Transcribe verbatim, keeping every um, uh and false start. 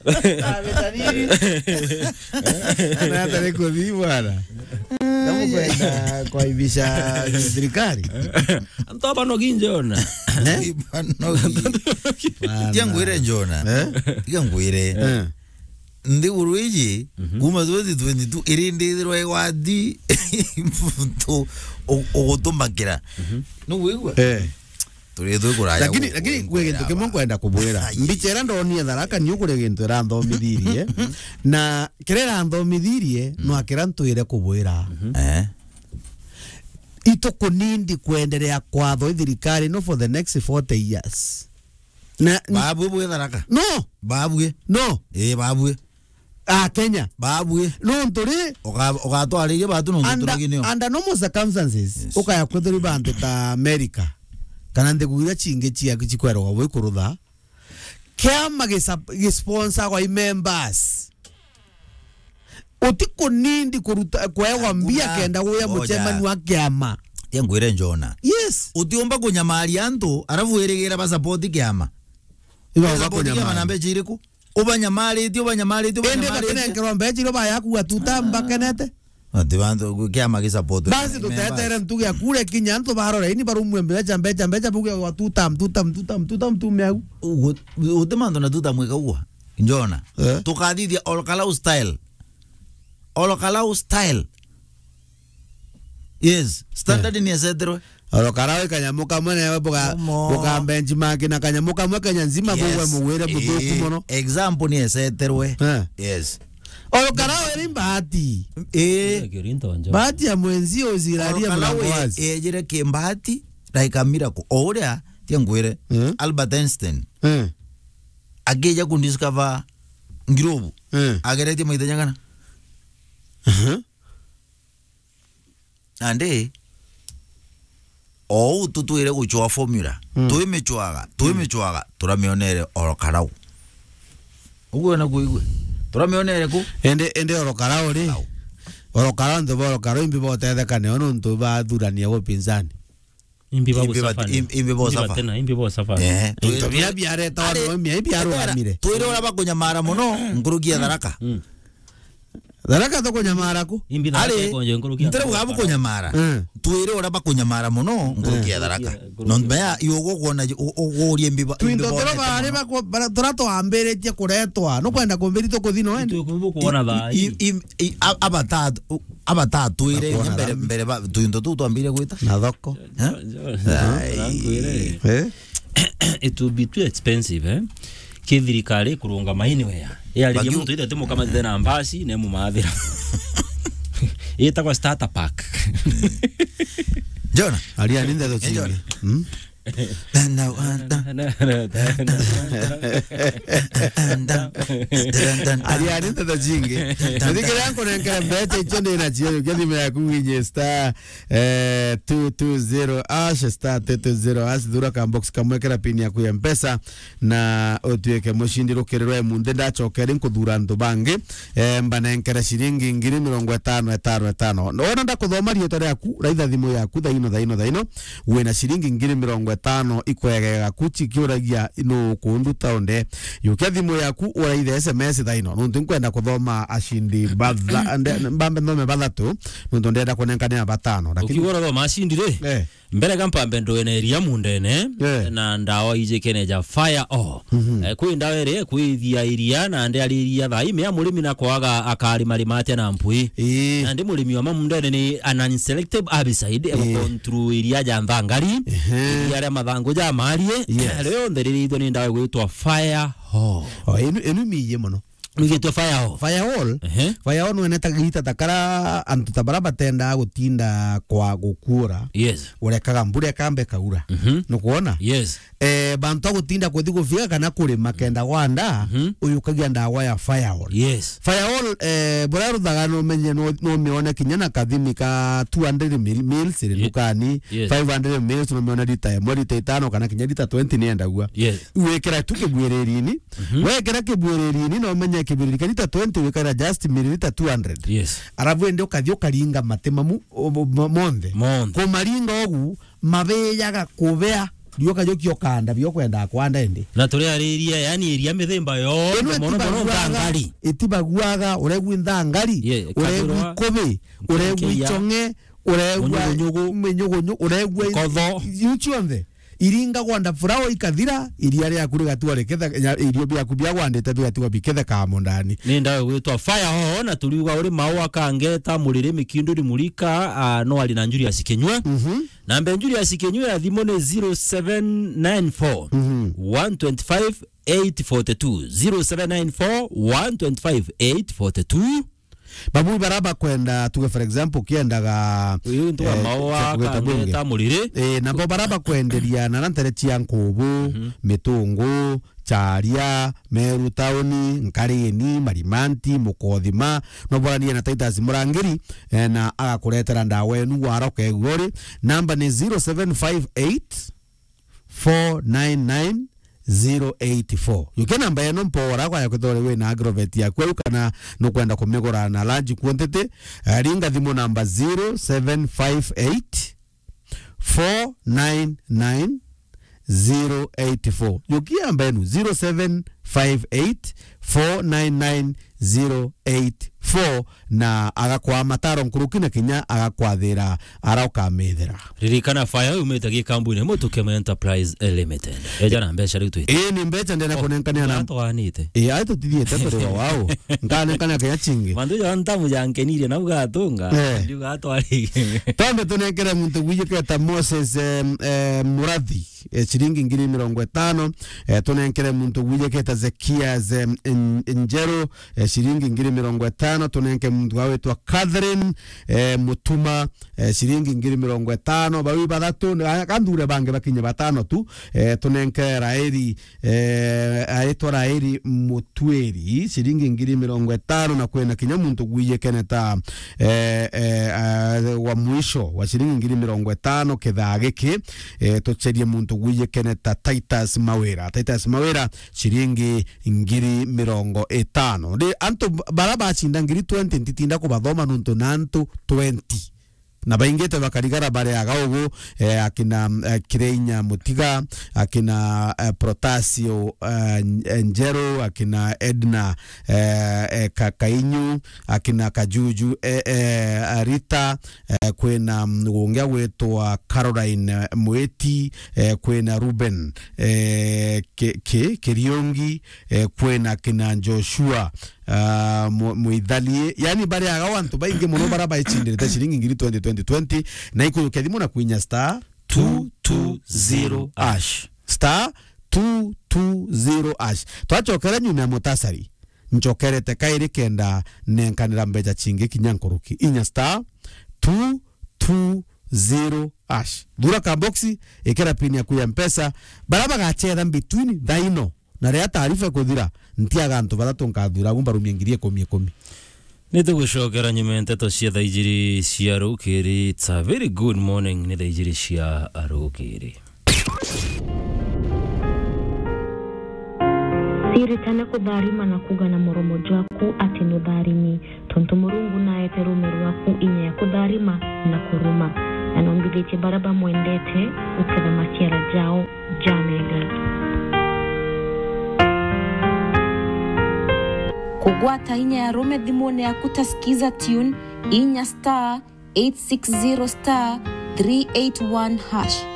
Ametaniri. Anataka kuthi bwana. Kama kwenda kwa ibisha serikali. Antu aba no ginjona. Eh? Bwana, no gi-, Bwana. Tia ngwire Njona. Eh? Tia ngwire. Eh. Nthiguru iji, mhm, kuma twenty twenty-two, iri ndithirwa igwati, u-, ugutumakira. Mhm. Nuwigua? Eh. Turi thu kuraya. Lakini, gu-, lakini kwi gintu kimwe nkwenda kubwira. Ai. Mbicha iria ndonire Tharaka, niu kuri gintu iranthomithirie. Na kiria iranthomithirie, mm, no akira ntwire kubwira. Mhm. Eh. Itukunindi kwenderea kwatho i thirikari no for the next forty years. Na, babue bwe Tharaka? No. Babue? No. Eh, babue. A Kenya. Babue. Nontu ri? Uga-, ugatwariria batu nontu under, turaginio. Under normal circumstances, yes, ukaya kwithirwa bantu ta America, kana nthigu iria cingi cia, cikweragwa bwi kurutha, kiama gisa-, gisponsorwa i members. Utikunindi kuruta, kwewa mbia kenda guya mucemani wa kiama. Tia ngwire Njona. Yes. Utiumba kunyamaria antu, arafu wirigira ba support kiama. Iba ba support kiama na mbecha iriku? Ubanyamaritie, ubanyamaritie, indi ubanyamaritie. Bakenenkerwa mbecha iria bayakuga tuta mbakenete. Ati bantu kiama gi support. Basi tutetere ntuge ya kure kinya antu barora ini barumwe mbecha, mbecha, mbecha, buge wa tutam, tutam, tutam, tutam, tume au. Ugu-, uti mantu na tutam ikagua. Njona. Eh? Tukathithia Olokalau style. Olokalau style. Yes, standard, eh, ni eseterwe. Olokalau kanyamu kamwe na buga, buga benchmark na kanyamu kamwe Kenya nzima, yes, bugwe mugwire buthuku, eh, muno. Example ni eseterwe. Eh. Yes. Olokalau eri mbati. Eh. Mbati ya mwenzi uziraria. Olokalau mlango wazi. Ejire ki mbati, like a miracle. O uria, tia ngwire, eh, Albert Einstein. Eh. Akija ku discover globe. Eh. Ageretie maita jangana? Aha. Nandi, o uu tutwire gucwaa formula. Mm. Twimicwaga, twimicwaga, turamionere Olokalau. Uguo na kuigua? Turamionere ku? Indi, indi Olokalau ri? Olokalau. Olokalau, ntu ba Olokalau imbi botetheka nio nontu bathurania gupinzani. Imbi ba, imbi ba, gusafa, im-, imbi ba, imbi ba safa. Tena, imbi ba safa. Eh, into bia biareta wana mia, imbi arugamire. Twire ura bakunyamara muno, nkuruki ya Tharaka. Mm. Tharaka tukunyamara ku? Imbi Tharaka ikonje nkuruki ya Tharaka. Ntere ugabu kunyamara. Mm. Twire ura bakunyamara muno, nkuruki ya Tharaka. Nkuruki ya, nkuruki ya. Nontu mea, iugo kuona, u-, u-, ugurie imbi ba, imbi bonete muno. Twinto tura bari bakwa-, bara-, tura twambiritie kuretwa. Nukwenda kumbiri tukuthi no ende? Itu kubu kuona thaa i, i, i, a-, abata-, u-, abatatwire mbere, mbere ba, twinto tuu twambire gwita. Na thoko. Eh? Ai. Eh? It will be too expensive, eh? Ki thirikari kurungama anywhere. Yaririe muntu ithete mukamatite na mbasi, ne mumathira. Itagwa starter pack. Njona? Aria ni ndeto cingi. Njona. Hmm? Ariani nteto cingi. Muthikire nkunenkera mbeca icio ndi nacio, ukia thimu yaku winye star, eh, two two zero hash, star two two zero hash, thura ka box kamwe, kera pin yaku ya Mpesa, na utuike mucindi rukiri rwa imunthi. Ndacoka ri nkuthura antu bangi, eh, mbanenkera ciringi ngiri mirongo itano, itano, itano. Wona ndakuthoma riitwa riaku, raitha thimu yaku thaino, thaino, thaino. Wina ciringi ngiri mirongo itano ikwegega ku cikiuragia nu kunduta unde. Yukia thimu yaku uraithe S M S thaino. Nuntu nkwenda kuthoma acindi batha-, nde-, mbambe nthome bathatu. Nuntu ndenda kunenkanira batano. Lakini ukiuga urathoma acindi ri? Eh. Mbere ga mpambe ndwene iria mundene, eh, na ndawa ijikene ja fire all. Mhm. Eh, kwi ndawa iri kwithia iria na ndiariria thaa ime ya murimi na kwaga akarima rima atia na mpwi. Ii. Na ndi murimi wa mamundene ni an unselective herbicide, eh, egucontrol iria ja nthangari, ehe, iria ria mathangu ja marie, yes, rionthe ririthwe ni ndawa igwitwa fire all. O, inu, inu imiyie muno. Nwigitwe firewall. Firewall? Ehe. Firewall nweneta gita ta kara antu ta bara batendaa gutinda kwa gukuura. Yes. Urekaga mbura ikamba ikaura. Mhm. Nukwona? Yes. Eh, bantu a gutinda kuthi gufiga kana kurima kenda gwanda, mhm, uyukagia ndawa ya firewall. Yes. Firewall, eh, buria ruthaga no menye no, no mione kinya na kathimi ka two hundred mil-, mils iri, ye-, ndukani, yes, five hundred mils no mione lita imwe, lita itano kana kinya lita twenty ni endagua. Yes. Wikira tu kibwiririni, mhm, wekira kibwiririni, no menye kibwiriri kia lita twenty wikira just milliliter two hundred. Yes. Arabu indi ukathi ukaringa mati mamu, o, mo-, mo-, monthe. Monthe. Kumaringa ugu, mabijaga kubea. Rioka jokia ukanda, bio kwenda kwanda indi. Na turiariria, yani, iria mithemba yonthe, mono mono ntangari. Itibaguaga, uregwi ntangari, uregwi kubi, uregwi ichong'e, uregwa minyugunyugu, uregwa kotho. Iu cionthe. Iringagwa nda flower ikathira, iria riaku rigatigwa riketha-, ya-, irio biaku bia gwandite bigatigwa biketheka mundani. Ni ndawe gwitwa Fire Ho, na turiuga uri mau akangeta muriri mikindu rimurika, ah, no ari na Julius Kinyua. Mhm. Namba ya Julius Kinyua ya thimu ni zero seven nine four, one twenty-five, eight forty-two. Zero seven nine four, one twenty-five, eight forty-two. Babu bara bakwenda, tuge for example, kiendaga, uyu ntu wa eh, maua, cha kugeta bunge. Kangeta muriri. Eh, nabo bara bakwenderia na ntere cia nkubu, mitungu, charia, Meru tauni, Nkarini, Marimanti, Mukothima, no boranie na Titus Murangiri, eh, na agakuretera ndawa enu waroka igori. Namba ni zero seven five eight, four nine nine, zero eight four. Yukia namba eno mpora kwa ya kwithira uri wina agrovet yaku au kana nukwenda kumigura na large quantity, eh, ringa thimu namba zero seven five eight, four nine nine, zero eight four. Yukia namba enu, zero seven five eight, four nine nine, zero eight four, na agakwa mataro nkuruki na kinya agakwathira ara ukamithira. Ririkana, Fire yumite gikambuni imwe Tukema Enterprise Limited. Eja na mbeca riu twite. Ii, ni mbeca ndena kunenkanea na gatwanite. Ii, ai tutithiete turi o wao. Nkanenkania kinya chingi. Mantu ja ntamu ja nkenirie nau gatunga. Eh. Ndiuga atwari. Twambe tunenkere muntu gwijiketa Moses, em, em, Murathi, eh, ciringi ngiri mirongo itano. Eh, tunenkere muntu gwijiketa Zekias, em, N-, Njeru, eh, ciringi ngiri mirongo itano. Tunenke muntu wawitwa Catherine, eh, Mutuma, eh, ciringi ngiri mirongo itano. Bawi bathatu, ah, kandure bangi bakinye batano tu. Eh, tunenke Raeli, eh, aitwa Raeli Mutwiri, ciringi ngiri mirongo itano, na kwina kinya muntu gwijikene ta, eh, eh, ah, wa mwisho wa ciringi ngiri mirongo itano kithaa giki. Eh, tucherie muntu gwijikene ta Titus Mawira. Titus Mawira, ciringi ngiri mirongo itano. Ndi antu bara bacinda ngiri twenty, ntitinda kubathoma nuntu na antu twenty. Na baingite bakarigara bariaga ugu, eh, akina, eh, Kireinya Mutiga, akina, eh, Protasio, eh, N-, eh, Njeru, akina Edna, eh, eh, Ka-, Kainyu, akina Kajuju, eh, eh, Rita, eh, kwina, mm, gungi agwitwa Caroline, eh, Mwiti, eh, kwina Ruben, eh, Ki-, Ki-, Kiriungi, eh, kwina kina Joshua, ah, Mu-, Muithalie. Yani, bariaga o antu baingi mono bara baicindire ta ciringi ngiri twenty, twenty, twenty, na ikujukia thimu na kwinya star two two zero hash. Star two two zero hash. Twachokera nyuma ya mutasari, nchokerete kairi kenda nenkanira mbeca chingi kinya nkuruki. Inya star two two zero hash. Thura ka boxi, ikira pin yaku ya Mpesa. Bara bagachetha between thaino na riria taarifa ikuthira, ntiaga antu bathatu nkathura agu mbarumie ngiri ikumi ikumi. Ni tugucokera nyuma ya nteto cia thaa ijiri cia rukiri. It's a very good morning, ni thaa ijiri cia rukiri. Siritane kutharima na kuga na muromo jwaku ati nutharimi, tontu Murungu naete ruume rwaku inya ya kutharima na kuruma, na nombithitie baria bamwendete guketha maciara jao jamega. Kugwata inya ya ruume thimune yaku ta Skiza Tune, inya star eight six zero star three eight one hash.